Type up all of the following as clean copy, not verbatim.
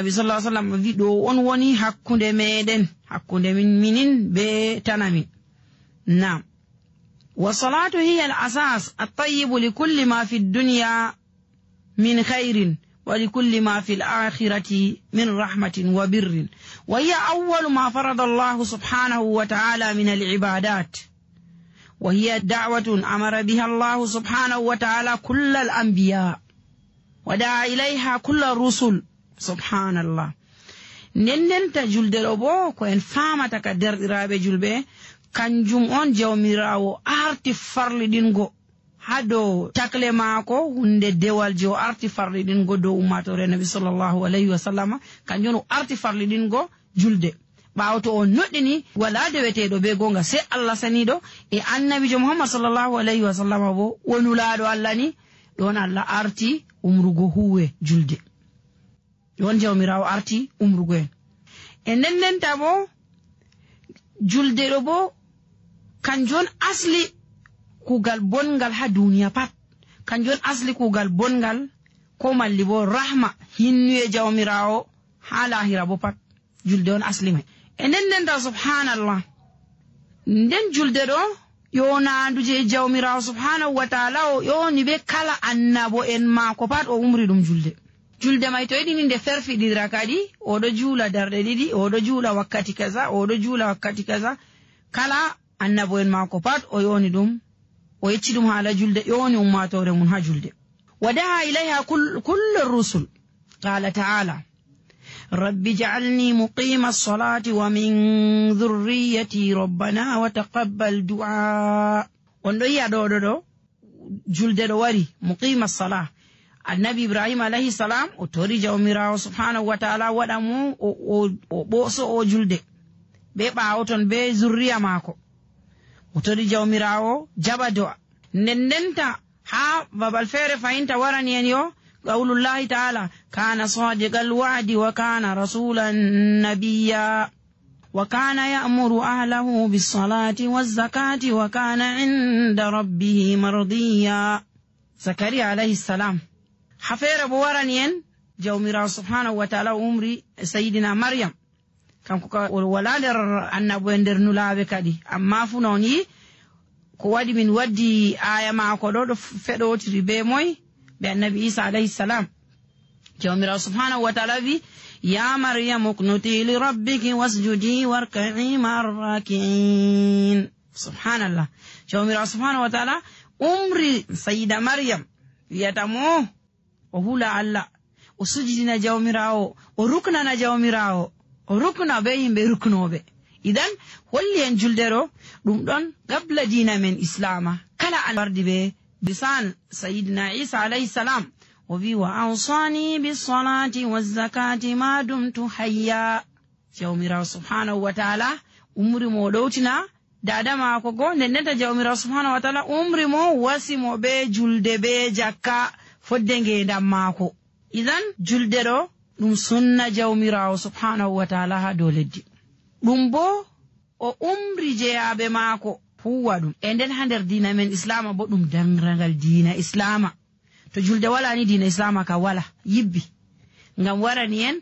Nabi sallallahu alaihi wasallam wi do on woni hakkunde meɗen, hakkunde minin be tanamin. Naam. والصلاة هي الأساس الطيب لكل ما في الدنيا من خير ولكل ما في الآخرة من رحمة وبر، وهي أول ما فرض الله سبحانه وتعالى من العبادات، وهي دعوة أمر بها الله سبحانه وتعالى كل الأنبياء ودعا إليها كل الرسل. سبحان الله. ننن تجلد ربو كوين فامتك در إرابة جلبه kanjum on jawmirawo arti farlidingo hado takle maako hunde dewal jo arti farlidingo do ummatore nabi sallallahu alaihi wasallam, kanjum arti farlidingo julde. Bawto on noddini wala dewetedo be gonga sai Allah sanido e annabi jo Muhammad sallallahu alaihi wasallam bo wonulaado Allah ni don Allah arti umrugo huwe julde. Don jawmirawo arti umrugo en nden tabo julde do bo kanjon asli kugal bongal ha duniya pat, kanjon asli kugal bongal ko malli bo rahma hinnuye jawmirawo ha lahira bo pat julde on asli mai. Enen da subhanallah, nden julde do yonanduje jawmirawo subhanahu wa ta'ala o yoni be kala annabo en mako pat o umri dum julde. Julde mai to edini nde ferfidira kadi odo juula darde didi, odo juula wakkati kaza, odo juula wakkati kaza, kala annabo en mako pat o yoni dum o yecci dum hala julde, yoni ummatore mun ha julde. Wadaha ilaiha kullu rusul. Qala ta'ala rabbi ja'alni muqima as-salati wa min dhurriyyati rabbana wa taqabbal du'a. Ondo yi'a do julde do wari muqima as-salah. Annabi Ibrahim alayhi salam o tori jawmirawo subhanahu wa ta'ala wada mu o boso o julde be baawoton be zurriya mako. O tori jawmirawo jaba do'a. Nendenta ha babal fere fahinta warani en yo qaulullahi ta'ala kana sadiqal wa'di wa kana rasulan nabiyya wa kana ya'muru ahlahu bis salati waz zakati wa kana 'inda rabbih mardiya. Zakariya alayhi salam hafere bo warani en jawmirawo subhanahu wa ta'ala umri sayyidina Maryam kanko ka wala der annabo en der nulaabe kadi, amma fu non yi ko wadi min waddi aya maako do fedotiri be moy be annabi Isa alayhi salam. Jawmirawo subhanahu wa ta'ala wi ya Maryam uqnuti li rabbiki wasjudi warka'i ma'ar raki'in. Subhanallah. Jawmirawo subhanahu wa ta'ala umri sayyida Maryam wiyata mo o hula Allah o sujidina jawmirawo o ruknana jawmirawo o rukna be yimbe ruknobe. Idan holli en juldero dum don gabla dina men islama kala an wardi be bisan sayyidina Isa alayhi salam o wi wa awsani bis salati waz zakati ma dumtu hayya. Jawmirawo subhanahu wa ta'ala umri mo dowtina dada mako go nenneta jawmirawo subhanahu wa ta'ala umri mo wasimo be julde be jakka fodde ngendam mako. Idan julde do dum sunna jawmirawo subhanahu wa ta'ala ha do leddi. Dum bo o umri jeyabe mako huwa dum e nden ha nder dina men islama bo dum dangragal dina islama. To julde wala ni dina islama ka wala yibbi ngam warani en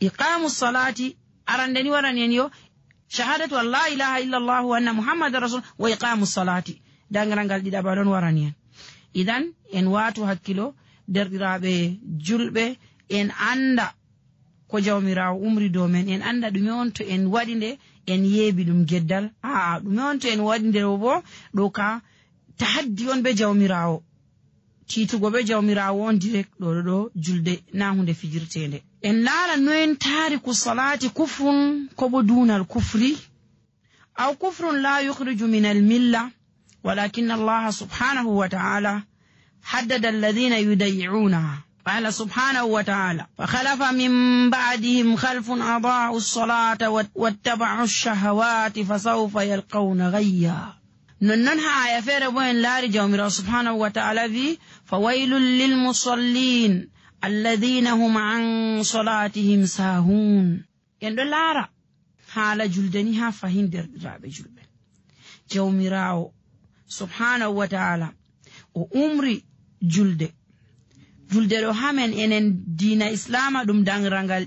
iqamus salati arandeni warani en yo shahadatu an la ilaha illa Allah wa anna muhammadar rasul wa iqamus salati dangragal didaba don warani en. Idan en watu hakkilo derdirabe julbe en anda ko jawmirawo umri do men, en anda dume on to en wadi nde en yebi dum geddal, dume on to en wadi nde bo do ka tahaddi on be jawmirawo, titugo be jawmirawo on direct do julde na hunde fijirtende. En laara no en tariku salati kufrun ko bo dunal kufri aw kufrun la yukhriju min al milla, walakin Allah subhanahu wa ta'ala haddada alladhina yuday'unaha. قال سبحانه وتعالى فخلف من بعدهم خلف أضاعوا الصلاة واتبعوا الشهوات فسوف يلقون غيا. ننها آية فير بوين لاري جوميرا سبحانه وتعالى في فويل للمصلين الذين هم عن صلاتهم ساهون. يندو لارا حال جلدنها فهين در رابي جلبن جوميرا سبحانه وتعالى وأمري جلد julde ɗo hamen enen diina islama ɗum danrangal